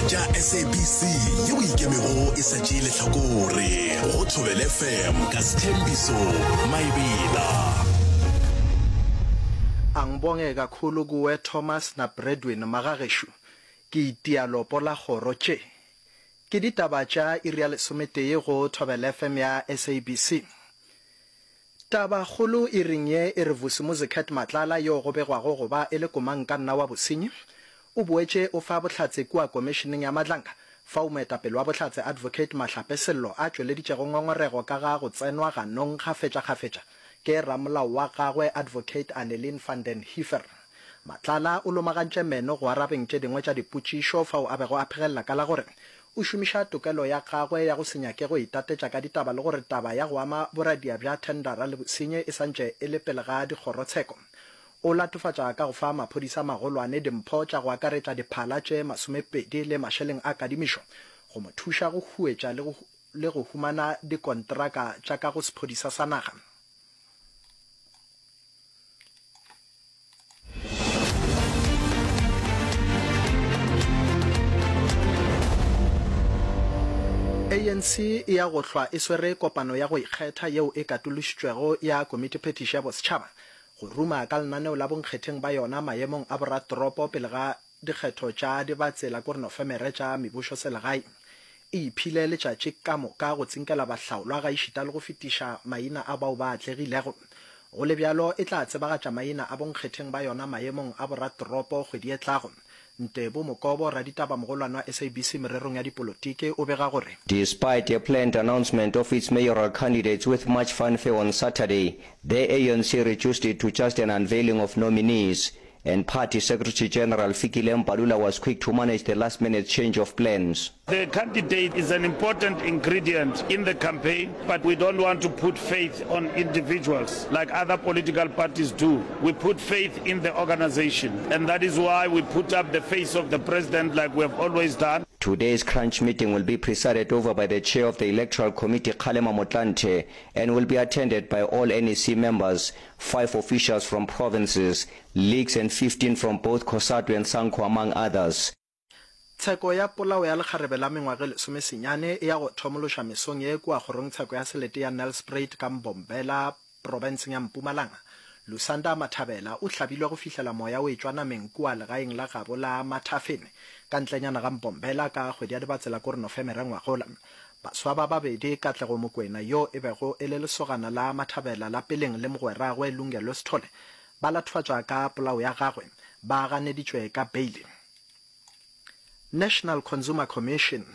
tša SABC yeo ikemego e sa tšee lehlakore go Thobela FM ka Sthembiso Maebela. Angibonge kakhulu kuwe Thomas na Bradwin magageshu ke itia lopo la kgoro tše. Ke ditaba tša iri ya lesometee go Thobela FM ya SABC. Tabakgolo iring ye e re Vusimuzi Cat Matlala yo go begwago go ba e le komangkanna wa bosenyi, o boetše o fa bohlatse kua Komišeneng ya Madlanga, fao moetapele wa bohlatse Advocate Mahlape Sello a tšweleditšego ngongorego ka ga go tsenwa ganong kgafetšakgafetša ke ramolao wa gagwe Advocate Annelien van den Heever. Matlala o lomagantše meno go arabeng tše dingwe tša dipotšišo fao a bego a phegelela ka la gore o šomiša tokelo ya gagwe ya go se nyake go itatetša ka ditaba le gore taba ya go ama boradia bja thendara le bosenyi e santše e le pele ga dikgorotsheko. O latofatša ka go fa maphodisa magolwane dimpho tša go akaretša diphala tše masomepedi le mašeleng a kadimišo go mo thuša go huetša le go humana dikontraka tša ka go sephodisa sa naga. ANC e ya go hlwa e swere kopano ya go ikgetha yeo e katološitšwego ya Komitiphethiši ya Bosetšhaba go ruma ka lenaneo la bonkgetheng ba yona maemong a boratoropo pele ga dikgetho tša dibatsela kore Nofemere tša mebušoselegae. E iphile letšatši ka moka go tsinkela bahlaolwa gaešita le go fetiša maina a bao ba atlegilego. Go le bjalo, e tla tsebagatša maina a bonkgetheng ba yona maemong a boratoropo kgwedi e tlago. Ntebo Mokobo, raditabamogolwane wa SABC mererong ya dipolotiki, o bega gore. Despite a planned announcement of its mayoral candidates with much fanfare on Saturday, the ANC reduced it to just an unveiling of nominees, and party Secretary General Fikile Mbalula was quick to manage the last-minute change of plans. The candidate is an important ingredient in the campaign, but we don't want to put faith on individuals like other political parties do. We put faith in the organization, and that is why we put up the face of the president like we have always done. Today's crunch meeting will be presided over by the chair of the Electoral Committee Kgalema Motlanthe and will be attended by all NEC members, five officials from provinces, leagues and 15 from both COSATU and SANCO among others. Tsheko ya polao ya lekgarebe la mengwaga e lesomesenyane e ya go thomološa mesong ye kua kgorongtsheko ya selete ya Nelspruit ka Mbombela profenseng ya Mpumalanga. Lusanda Mathabela o hlabilwe go fihlela moya o etšwa nameng kua legaeng la gabo la Mathafene ka ntlenyana ga Mbombela ka kgwedi ya Dibatsela kore Nofemere ngwagola. Baswa ba babedi, Katlego Mokwena yo e bego e le lesogana la Mathabela la peleng le mogweragwe Lungelo Sithole ba latofatšwa ka polao ya gagwe, ba ganeditšwe ka beile. National Consumer Commission,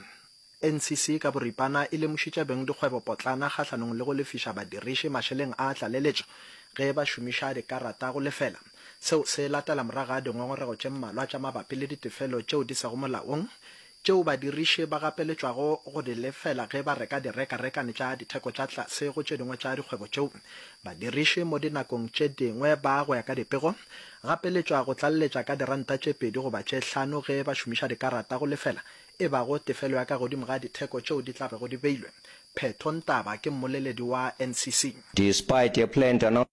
NCC, ka boripana e lemošitše bengdikgwebopotlana kgahlanong le go lefiša badiriši mašeleng a tlaleletšo ge ba šomiša dikarata go lefela. Seo se latela morago ga dingongorego tše mmalwa tša mabapi le ditefelo tšeo di sego molaong tšeo badiriši ba gapeletšwago go di lefela ge ba reka direkarekane tša ditheko tša tlase go tše dingwe tša dikgwebo tšeo. Badiriši mo dinakong tše dingwe ba, go ya ka dipego, gapeletšwa go tlaleletša ka diranta tše pedi goba tše hlano ge ba šomiša dikarata go lefela e bago tefelo ya ka godimo ga ditheko tšeo di tla bego di beilwe. Phetho Ntaba ke mmoleledi wa NCC. Despite a planned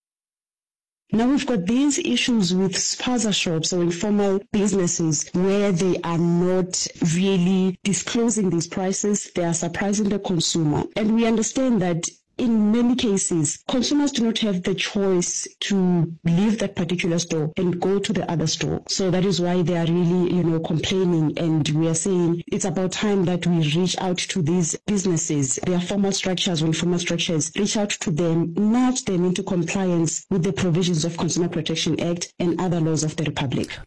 Now we've got these issues with spaza shops or informal businesses where they are not really disclosing these prices, they are surprising the consumer. And we understand that in many cases, consumers do not have the choice to leave that particular store and go to the other store. So that is why they are really, you know, complaining and we are saying it's about time that we reach out to these businesses, their formal structures or informal structures, reach out to them, nudge them into compliance with the provisions of Consumer Protection Act and other laws of the Republic.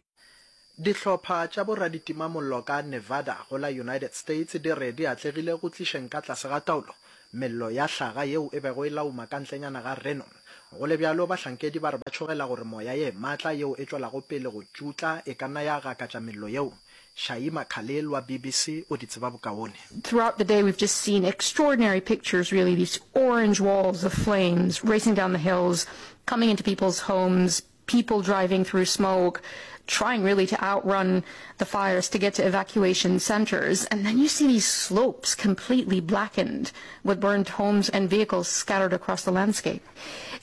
Dihlopha tša boraditimamollo ka Nevada go la United States di re di atlegile go tlišeng ka tlase ga taolo mello ya hlaga yeo e bego e lauma ka ntlenyana ga Reno. Go le bjalo, bahlankedi ba re ba tšhogela gore moya ye matla yeo e tšwelago pele go tšutla e ka nna ya gakatša mello yeo. Shaima Khalil wa BBC o di tseba bokaone. Throughout the day we've just seen extraordinary pictures really, these orange walls of flames racing down the hills, coming into people's homes, people driving through smoke, trying really to outrun the fires to get to evacuation centers. And then you see these slopes completely blackened with burned homes and vehicles scattered across the landscape.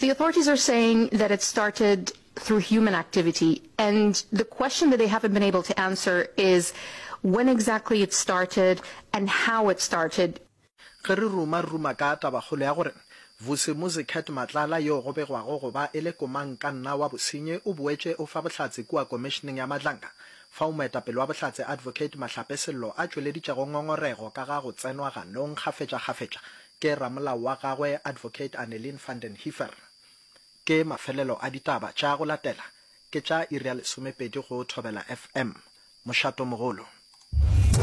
The authorities are saying that it started. through human activity. And the question that they haven't been able to answer is when exactly it started and how it started. Ge re ruma re ruma ka tabakgolo ya gore Vusimuzi Cat Matlala yo go begwago go ba e le komangkanna wa bosenyi o boetše o fa bohlatse kua Komišeneng ya Madlanga fao moetapele wa bohlatse Advocate Mahlape Sello a tšweleditšego ngongorego ka ga go tsenwa ganong kgafetšakgafetša ke ramolao wa gagwe Advocate Annelien van den Heever. Ke mafelelo a ditaba tša go latela ke tša iri ya lesomepedi go Thobela FM. Mošatomogolo.